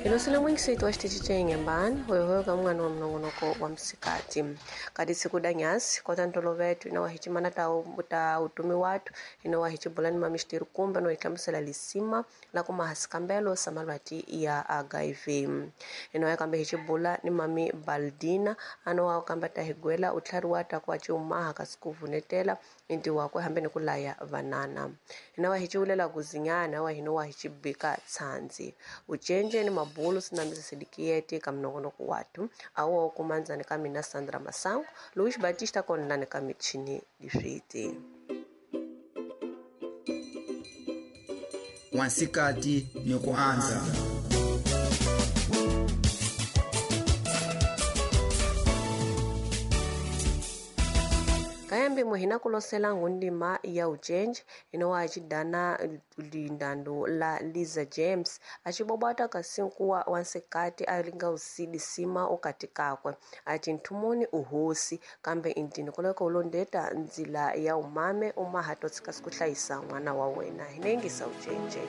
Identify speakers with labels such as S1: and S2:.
S1: Hilosile mwingiseti wa xitichi xa Inhambane hoyohoyo ka mun'wana wa minongonoko wa msikati ka tisiku da nyasi kota ntoloveto ina wa hi cimana ta ta utumi watu ina wa hi cibula ni mami xitiri kumbe no hi hlamusela lisima la ku maha sikambelo sa malwati ya HIV ina wa kambe hi cibula ni mami Baldina ano wa kamba ta hi gwela u tlhariwa ta ku a ciumaha kasi ku vunetela inti wakwe hambi ni ku laya vanana ina wa hi ciulela kuzinyana wa hina wa hi cibika tshandzi ucenje ni mabulu sinambisa ka minongonoko watu awo kumanzani ka mina Sandra Masango Luis Batista konlani ka michini liswiti
S2: wansikati ni ku andza.
S1: Kayambi muhina kulosela ngundima ya ucenje inowa acidana lindando la Liza James acibobwata kasinkuwa wansikati alinga usidi sima ukati kakwe ati nthumuni uhosi kambe intini kuleka ulondeta nzila ya umame umaha totsika sikuhlayisa n'wana wa wena hinengisa ucenje.